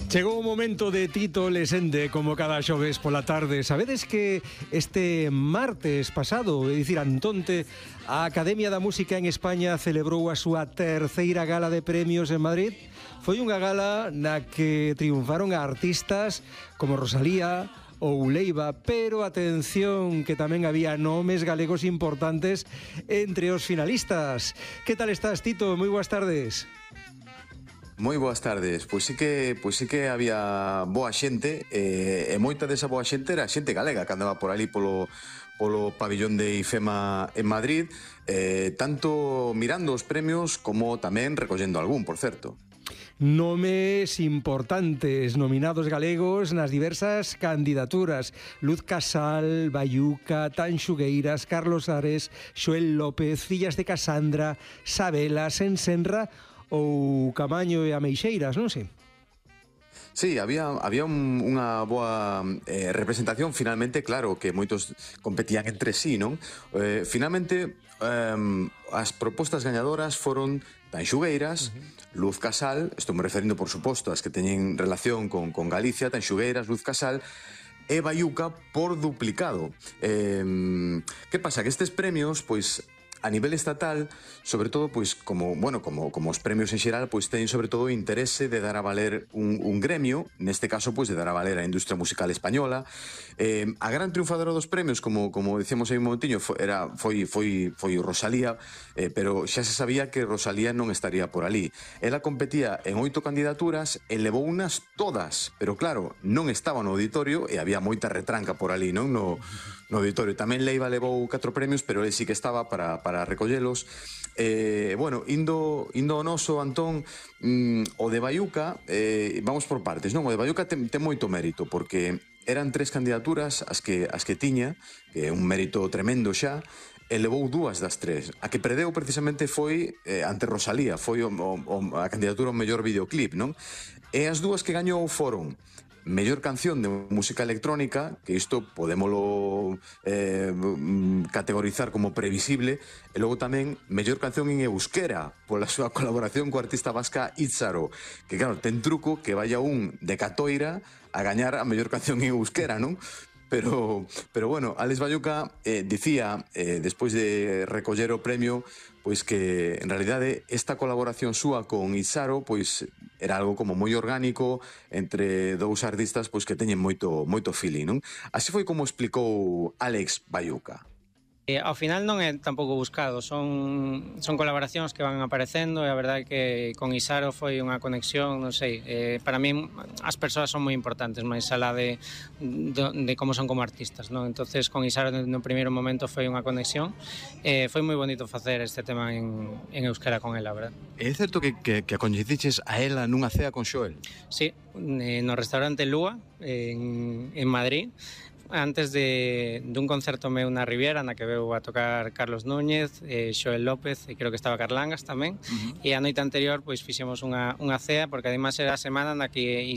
Chegou o momento de Tito Lesende, como cada xoves pola tarde. Sabedes que este martes pasado, é dicir, antonte, a Academia da Música en España celebrou a súa terceira gala de premios en Madrid? Foi unha gala na que triunfaron artistas como Rosalía ou Leiva, pero atención que tamén había nomes galegos importantes entre os finalistas. Que tal estás, Tito? Moi boas tardes. Moi boas tardes. Pois sí que había boa xente, e moita desa boa xente era xente galega que andaba por ali polo pabillón de IFEMA en Madrid, tanto mirando os premios como tamén recollendo algún, por certo. Nomes importantes, nominados galegos nas diversas candidaturas: Luz Casal, Baiuca, Tanxugueiras, Carlos Ares, Xoel López, Fillas de Casandra, Sabela, Sensenra ou Camaño e Ameixeiras, non sei. Sí, había unha boa representación. Finalmente, claro, que moitos competían entre sí, non? Finalmente, as propostas gañadoras foron Tanxugueiras, Luz Casal, estou me referindo, por suposto, as que teñen relación con Galicia, Tanxugueiras, Luz Casal, e Baiuca por duplicado. Que pasa? Que estes premios, pois, a nivel estatal, sobre todo, pois, como os premios en xeral, pois teñen sobre todo o interese de dar a valer un gremio, neste caso, pois, de dar a valer a industria musical española. A gran triunfadora dos premios, como dicemos aí un momentiño, foi Rosalía, pero xa se sabía que Rosalía non estaría por ali. Ela competía en 8 candidaturas e levou unas todas, pero claro, non estaba no auditorio e había moita retranca por ali, non? No auditorio. Tamén Leiva levou 4 premios, pero ele sí que estaba para recollelos. Bueno, indo ao noso, Antón, o de Baiuca, vamos por partes, non? O de Baiuca ten moito mérito, porque eran 3 candidaturas as que tiña, que é un mérito tremendo xa, e levou 2 das 3. A que perdeu precisamente foi ante Rosalía, foi a candidatura ao mellor videoclip, non? E as 2 que gañou foron mellor canción de música electrónica, que isto podémolo categorizar como previsible, e logo tamén mellor canción en euskera, pola súa colaboración co artista vasca Itzaro, que claro, ten truco que vaya un de Catoira a gañar a mellor canción en euskera, non? Pero bueno, Alex Baiuca dicía, despois de recoller o premio, pois que en realidade esta colaboración súa con Itzaro pois era algo como moi orgánico entre dous artistas pois que teñen moito feeling, non? Así foi como explicou Alex Baiuca. Ao final non é tampouco buscado, son colaboracións que van aparecendo, e a verdade é que con Isaro foi unha conexión, non sei, para mí as persoas son moi importantes, máis alá de como son como artistas, non? Entonces con Isaro no primeiro momento foi unha conexión, foi moi bonito facer este tema en euskera con ela, verdad? É certo que a coñeciches a ela nunha cea con Xoel? Sí, no restaurante Lúa, en Madrid, antes dun concerto meu na Riviera, na que veu a tocar Carlos Núñez, Xoel López, e creo que estaba Carlangas tamén, e a noite anterior pois fixemos unha cea, porque ademais era a semana na que